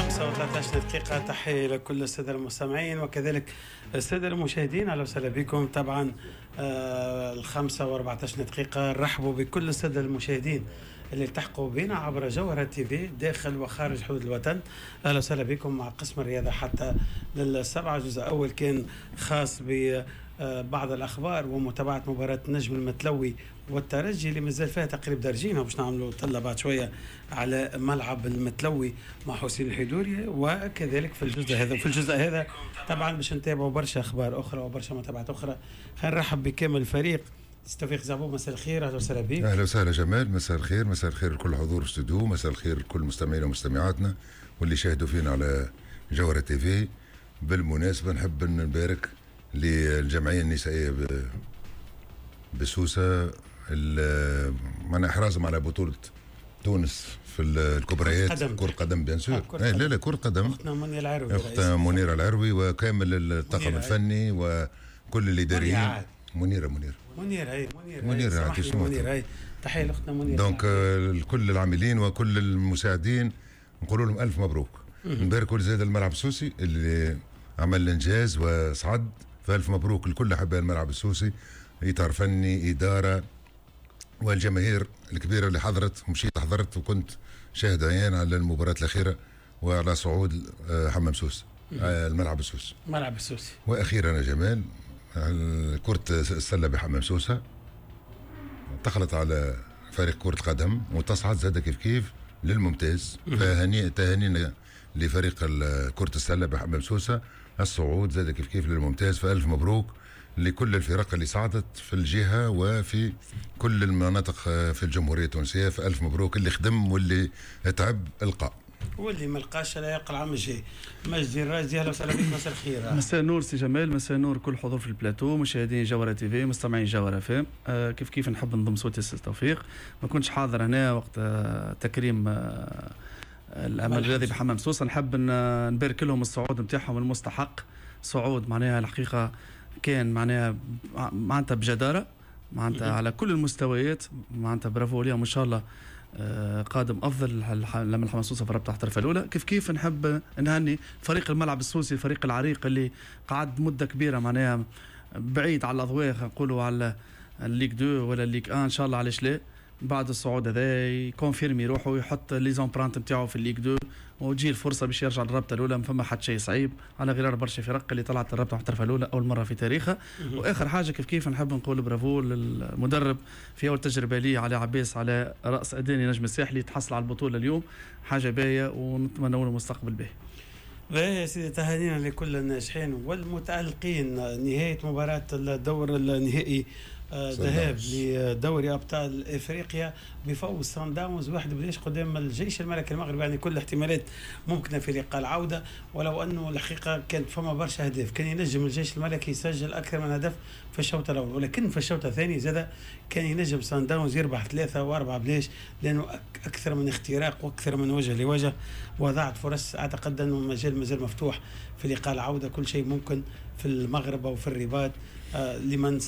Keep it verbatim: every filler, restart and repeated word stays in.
الخمسة وثلاثة عشر دقيقة، تحية لكل السادة المستمعين وكذلك السادة المشاهدين، أهلا وسهلا بكم. طبعا آه الخمسة وأربعة عشر دقيقة، رحبوا بكل السادة المشاهدين اللي التحقوا بنا عبر جوهرة تي في داخل وخارج حدود الوطن. اهلا وسهلا بكم مع قسم الرياضة حتى للسبعة. الجزء الأول كان خاص ببعض الأخبار ومتابعة مباراة النجم المتلوي والترجي اللي مازال فيها تقريبا درجين، باش نعملوا طلة بعد شوية على ملعب المتلوي مع حسين الحدوري. وكذلك في الجزء هذا في الجزء هذا طبعا باش نتابعوا برشا أخبار أخرى وبرشا متابعات أخرى. خلينا نرحب بكامل الفريق. توفيق زعبوب، مساء الخير، اهلا وسهلا بك. اهلا وسهلا جمال، مساء الخير، مساء الخير لكل حضور الاستوديو، مساء الخير لكل مستمعينا ومستمعاتنا واللي شاهدوا فينا على جوهرة تي في. بالمناسبة نحب نبارك للجمعية النسائية بسوسة معناها احرازهم على بطولة تونس في الكبريات، كرة قدم bien sûr. آه لا لا، كرة قدم. اختنا منيرة العروي. اختنا منيرة العروي وكامل الطاقم الفني وكل الاداريين. منيرة منيرة. منيرة هي منيرة. منيرة. منيرة هي، تحية لاختنا منيرة. donc كل العاملين وكل المساعدين نقول لهم الف مبروك. نباركوا زاد الملعب السوسي اللي عمل الانجاز وصعد، فالف مبروك لكل احباء الملعب السوسي، اطار فني، اداره، والجماهير الكبيرة اللي حضرت. ومشيت حضرت وكنت شاهد عيان على المباراة الاخيرة وعلى صعود آه، حمام سوس، آه، الملعب السوسي. ملعب السوسي. واخيرا يا جمال، كرة السلة بحمام سوسة دخلت على فريق كرة قدم وتصعد زاد كيف كيف للممتاز، فهني تهانينا لفريق كرة السلة بحمام سوسة الصعود زاد كيف كيف للممتاز. فألف مبروك لكل الفرق اللي صعدت في الجهة وفي كل المناطق في الجمهورية التونسية، فألف مبروك. اللي خدم واللي تعب القى. واللي ما لقاش لا يلقى العام الجاي. مجدي الراجدي، اهلا وسهلا بك، مساء الخير. مساء النور سي جمال، مساء النور كل حضور في البلاتو، مشاهدين جوهرة تي في، مستمعين جوهرة اف ام. آه كيف كيف نحب نضم صوتي سي توفيق، ما كنتش حاضر هنا وقت آه تكريم آه الامل الرياضي بحمام سوسه. نحب نبارك لهم الصعود نتاعهم المستحق، صعود معناها الحقيقة كان معناها معناتها بجداره معناتها على كل المستويات، معناتها برافو ليهم، ان شاء الله آه، قادم افضل لما الحمام السوسي في الرابطة الاحترافية الاولى. كيف كيف نحب نهني فريق الملعب السوسي، الفريق العريق اللي قعد مده كبيرة معناها بعيد على الاضواء، نقولوا على ال Ligue deux ولا ال Ligue un. ان شاء الله علاش لا، بعد الصعود هذا ي confirmer روحه ويحط les empreintes نتاعو في ال Ligue deux وتجي الفرصة باش يرجع للرابطة الاولى. ما فما حتى شيء صعيب على غرار برشا فرق اللي طلعت الرابطة المحترفه الاولى اول مرة في تاريخها. واخر حاجة كيف كيف نحب نقول برافو للمدرب في اول تجربه ليه، علي عباس، على راس اداني نجم الساحلي، تحصل على البطولة اليوم، حاجة باهيه ونتمنى له مستقبل باهي. باهي يا سيدي، تهانينا لكل الناجحين والمتألقين. نهاية مباراة الدور النهائي ذهاب لدوري ابطال افريقيا بفوز سان داونز واحد بلاش قدام الجيش الملكي المغربي، يعني كل الاحتمالات ممكنة في لقاء العوده، ولو انه الحقيقة كانت فما برشا اهداف، كان ينجم الجيش الملكي يسجل اكثر من هدف في الشوط الاول، ولكن في الشوط الثاني زاد كان ينجم سان داونز يربح ثلاثة واربعة بلاش، لانه اكثر من اختراق واكثر من وجه لوجه وضعت فرص. اعتقد انه المجال مازال مفتوح في لقاء العوده، كل شيء ممكن في المغرب او في الرباط آه، لمن